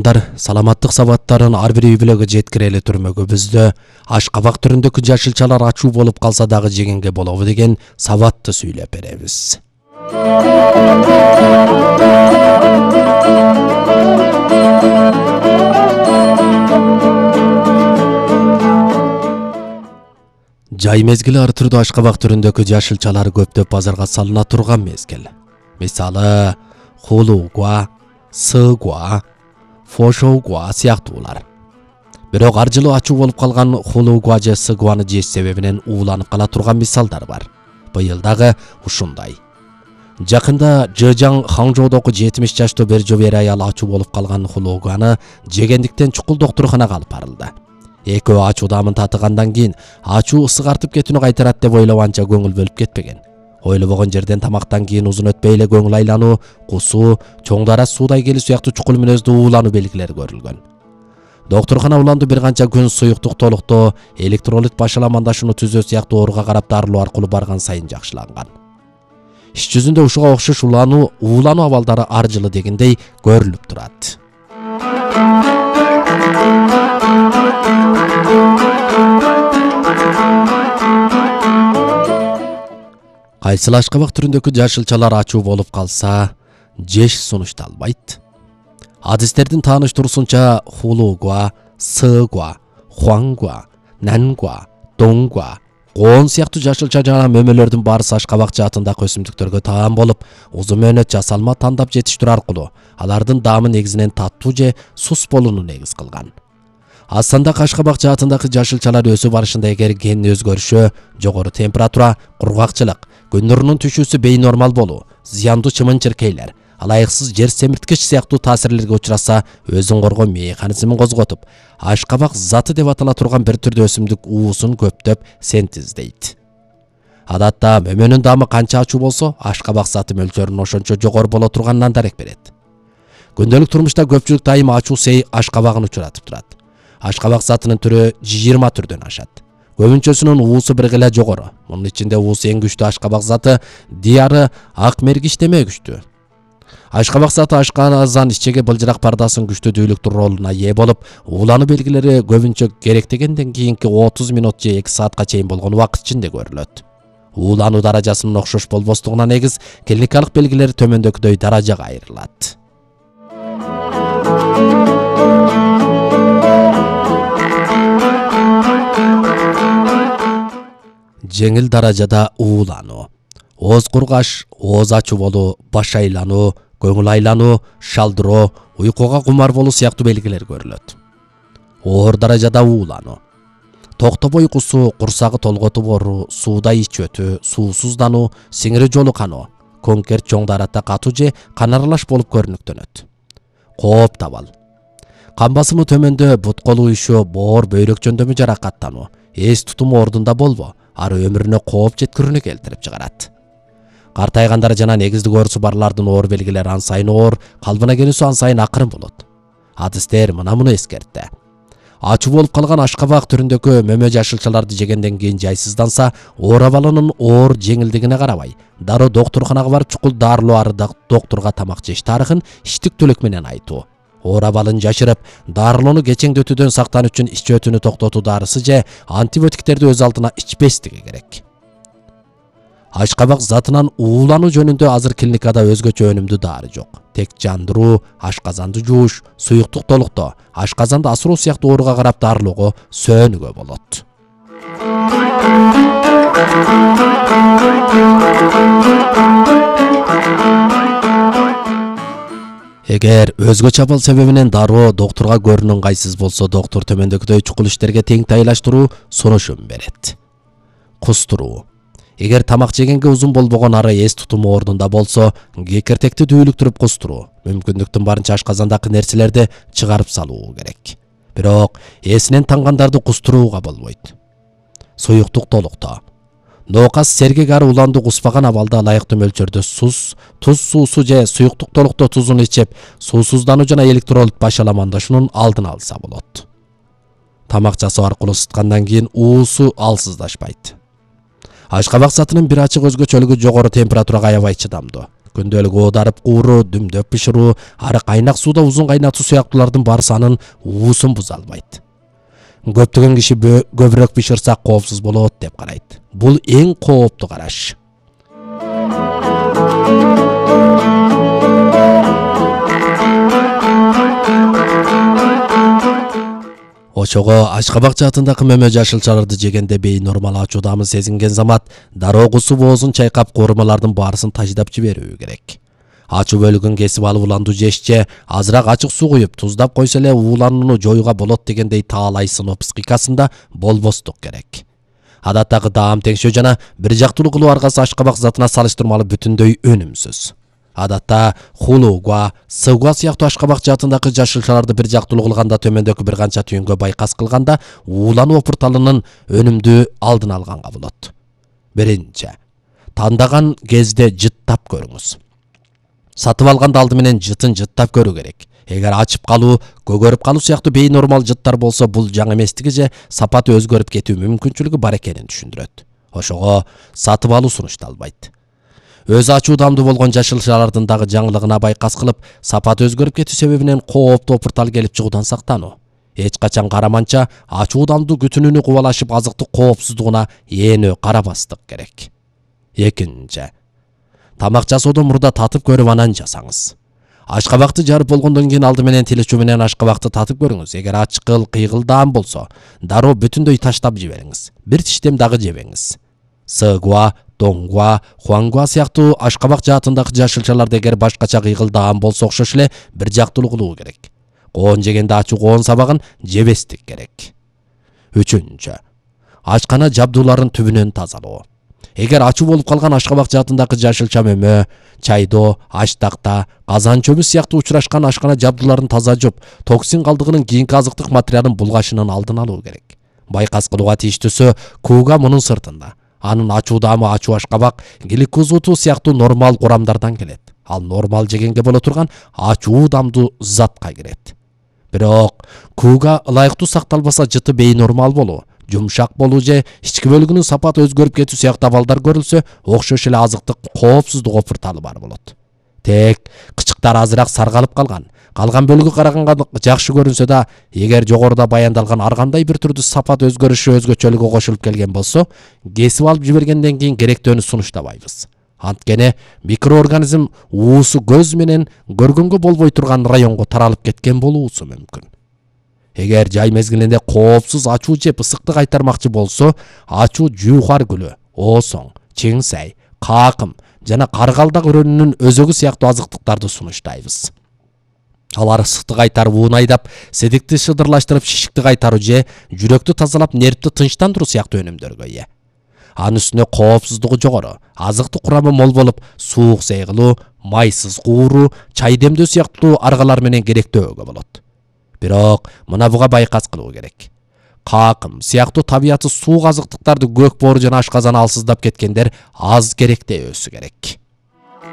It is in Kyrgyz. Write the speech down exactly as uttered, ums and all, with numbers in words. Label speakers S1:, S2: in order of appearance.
S1: Саламаттык сабаттарын ар бир үй бүлөгө жеткирели түрмөгүбүздө ашкабак түрүндөгү жашылчалар ачуу болуп калса дагы жегенге болобу деген сабатты сүйлөп беребиз. Жай мезгили ар түрдүү ашкабак түрүндөгү жашылчалар көптөп базарга салына турган мезгил. Мисалы, хулуугуа, сыгуа, фошоугуа сыяктуулар. Бирок ар жылы ачуу болуп калган хулуугуа же сыгуаны жеш себебинен ууланып кала турган мисалдар бар. Быйыл дагы ушундай. Жакында Жыжаң Хаңжоодогу жетимиш жаштуу бир жобер аял ачуу болуп калган хулуугуаны жегендиктен чукул доктурканага алып барылды. Экөө ачуу дамын татыгандан кийин ачуу ысык артып кетүүнү кайтарат деп ойлоп анча көңүл бөлүп кетпеген. Ойлобогон жерден тамактан кийин узун өтпөй эле көңүл айлануу, кусуу, чоң дара суудай келүү сыяктуу чукул мүнөздүү уулануу белгилери көрүлгөн. Доктуркана уланды бир канча күн суюктук толуктоо, электролит башаламандашууну түзөө сыяктуу ооруга карап дарылоо аркылуу барган сайын жакшыланган. Иш жүзүндө ушуга окшош улануу, уулануу абалдары ар жылы дегендей көрүлүп турат. Кайсыл ашкабак түрүндөгү жашылчалар ачуу болуп калса, жеш сунушталбайт. Адистердин тааныштыруусунча хулуугуа, сыгуа, хуангуа, нангуа, донгуа, коон сыяктуу жашылча жана мөмөлөрдүн баарысы ашкабак жаатындагы өсүмдүктөргө таан болуп, узун мөөнөт жасалма тандап жетиштирүү аркылуу алардын даамы негизинен таттуу же сус болууну негиз кылган. Астандагы ашкабак жаатындагы жашылчалар өсүп барышында эгер ген өзгөрүшү, жогору температура, кургакчылык, күн нурунун түшүүсү бейнормал болуу, зыяндуу чымын-чиркейлер, алайыксыз жер семирткич сыяктуу таасирлерге учураса, өзүн коргоо механизмин козготуп, ашкабак заты деп атала турган бир түрдүү өсүмдүк уусун көптөп синтездейт. Адатта мөмөнүн даамы канча ачуу болсо, ашкабак заты мөлчөрүнүн ошончо жогору боло турганынан дарек берет. Күндөлүк турмушта көпчүлүк дайыма ачуу сей ашкабагын учуратып турат. Ашкабак затынын түрү жыйырма түрдөн ашат. Көбүнчөсүнүн уусу бир гыла жогору. Мунун ичинде уусу эң күчтүү ашкабак заты диары ак мергиштеме күчтүү. Ашкабак заты ашказан ичеги былжырак пардасын күчтүү дүүлүктүү ролуна ээ болуп, уулануу белгилери көбүнчө керектегенден кийинки отуз минут же эки саатка чейин болгон убакыт ичинде көрүлөт. Уулануу даражасынын окшош болбостугуна негиз клиникалык белгилери төмөндөгүдөй даражага айрылат. Жеңил даражада уулануу, ооз кургаш, ооз ачуу болуу, баш айлануу, көңүл айлануу, шалдыроо, уйкуга кумар болуу сыяктуу белгилер көрүлөт. Оор даражада уулануу, токтобой кусуу, курсагы толготуп ооруу, сууда ич өтүү, суусуздануу, сиңири жолу каноо, конкерт чоң дарата катуу же кан аралаш болуп көрүнүктөнөт. Кооп табал, кан басымы төмөндө, бут кол уюшуу, боор бөйрөк жөндөмү жаракаттануу, эс тутуму ордунда болбоо, ары өмүрүнө кооп жеткирүүнү келтирип чыгарат. Картайгандар жана негиздик оорусу барлардын оор белгилери ан сайын оор, калыбына келүүсү ан сайын акырын болот. Адистер мына муну эскертти. Ачуу болуп калган ашкабак түрүндөгү мөмө жашылчаларды жегенден кийин жайсызданса, оор абалынын оор жеңилдигине карабай, дароо доктурканага барып чукул дарылоо ары доктурга тамак жеш тарыхын иштиктүүлүк менен айтуу. Оор абалын жашырып, дарылоону кечеңдетүүдөн сактануу үчүн ич өтүүнү токтотуу дарысы же антибиотиктерди өз алдына ичпестиги керек. Ашкабак затынан уулануу жөнүндө азыр клиникада өзгөчө өнүмдүү дары жок. Тек жандыруу, ашказанды жууш, суюктук толуктоо, ашказанды асыроо сыяктуу ооруга карап дарылоого сөөнүгө болот. Эгер өзгөчө абал себебинен дароо доктурга көрүнүн ыңгайсыз болсо, доктур төмөндөгүдөй чукул иштерге тең тайлаштыруу сунушун берет. Кустуруу. Эгер тамак жегенге узун болбогон ары эс тутуму ордунда болсо, кекиртекти дүүлүктүрүп кустуруу, мүмкүндүктүн барынча ашказандагы нерселерди чыгарып салуу керек. Бирок эсинен тангандарды кустурууга болбойт. Суюктук толуктоо. Ноокас сергек ары уланды куспаган абалда ылайыктуу мөлчөрдө суз, туз суусу же суюктук толуктоо тузун ичип, суусуздануу жана электролит башаламандашуунун алдын алса болот. Тамак жасоо аркылуу ысыткандан кийин уусу алсыздашпайт. Ашкабак затынын бир ачык өзгөчөлүгү жогору температурага аябай чыдамдуу. Күндөлүк оодарып кууруу, дүмдөп бышыруу, ары кайнак сууда узун кайнатуу сыяктуулардын барысы анын уусун буза албайт. Көптөгөн киши көбүрөөк бышырса коопсуз болот деп карайт. Бул эң кооптуу караш. Ошого Ашкабак жаатындагы мөмө жашылчаларды жегенде бейнормал ачуудамы сезинген замат дароо кусуп оозун чайкап коормалардын баарысын таждап жиберүү керек. Ачуу бөлүгүн кесип алып уланду жешче азыраак ачык суу куюп туздап койсо эле ууланууну жоюуга болот дегендей таалай сыноо психикасында болбостук керек. Адаттагы даам теңшөө жана бир жактуулуу кылуу аргасы Ашкабак затына салыштырмалуу бүтүндөй өнүмсүз. Адатта хулууга, сыгуа сыяктуу Ашкабак жаатындагы жашылчаларды бир жактуулуу кылганда төмөндөгү бир канча түйүнгө байкас кылганда уулануу опурталынын өнүмдүү алдын алганга болот. Биринчи, тандаган кезде жыттап көрүңүз. Сатып алганда алды менен жытын жыттап көрүү керек. Эгер ачып калуу, көгөрүп калуу сыяктуу бейнормал жыттар болсо, бул жаңы эместиги же сапаты өзгөрүп кетүү мүмкүнчүлүгү бар экенин түшүндүрөт. Ошого сатып алуу сунушталбайт. Өз ачуудамдуу болгон жашылчалардын дагы жаңылыгына байкас кылып, сапаты өзгөрүп кетүү себебинен кооптуу опуртал келип чыгуудан сактануу. Эч качан караманча ачуудамдуу күтүнүүнү кубалашып азыктык коопсуздугуна ээнөө карабастык керек. Экинчи, тамак жасоодон мурда татып көрүп анан жасаңыз. Ашкабакты жарып болгондон кийин алды менен тилечүү менен ашкабакты татып көрүңүз. Эгер ачкыл, кыйгылдаам болсо, дароо бүтүндөй таштап жибериңиз. Бир тиштем дагы жебеңиз. Сыгуа, доңгуа, хуангуа сыяктуу Ашкабак жаатындагы жашылчаларды эгер башкача кыйгылдаам болсо окшош эле бир жактуулуу кылуу керек. Коон жегенде ачуу коон сабагын жебестик керек. Үчүнчү, ачкана жабдууларын түбүнөн тазалоо. Эгер ачуу болуп калган Ашкабак жаатындагы жашылча мөмө, чайдоо, аштакта, казан чөбү сыяктуу учурашкан ашкана жабдууларын таза жуп, токсин калдыгынын кийинки азыктык материалын булгашынын алдын алуу керек. Байкас кылууга тийиштүүсү кууга мунун сыртында. Анын ачуудаамы ачуу Ашкабак гликозуту сыяктуу нормал курамдардан келет. Ал нормал жегенге боло турган ачуудамдуу затка кирет. Бирок кууга ылайыктуу сакталбаса жыты бейнормал болуу, жумшак болуу же ички бөлүгүнүн сапаты өзгөрүп кетүү сыяктуу абалдар көрүлсө, окшош эле азыктык коопсуздук опурталы бар болот. Тек кычыктар азыраак саргалып калган, калган бөлүгү караганга жакшы көрүнсө да, эгер жогоруда баяндалган ар кандай бир түрдүү сапат өзгөрүшү өзгөчөлүгү кошулуп келген болсо, кесип алып жибергенден кийин керектөөнү сунуштабайбыз. Анткени микроорганизм уусу көз менен көргөнгө болбой турган районго таралып кеткен болуусу мүмкүн. Эгер жай мезгилинде коопсуз ачуу жеп ысыкты кайтармакчы болсо, ачуу жуухар гүлү, оосоң, чиңсай, каакым жана каргалдак өрөөнүнүн өзөгү сыяктуу азыктыктарды сунуштайбыз. Алар ысыкты кайтарып уун айдап, седикти шыдырлаштырып, шишикти кайтаруу же жүрөктү тазалап, нервти тынчтандыруу сыяктуу өнүмдөргө ээ. Анын үстүнө коопсуздугу жогору, азыктык курамы мол болуп, суук сейгилүү, майсыз кууруу, чай демдөө сыяктуу аргалар менен керектөөгө болот. Бирок мына буга байкас кылуу керек. Каакым сыяктуу табияты суук азыктыктарды көк боору жана ашказан алсыздап кеткендер аз керектебөөсү керек.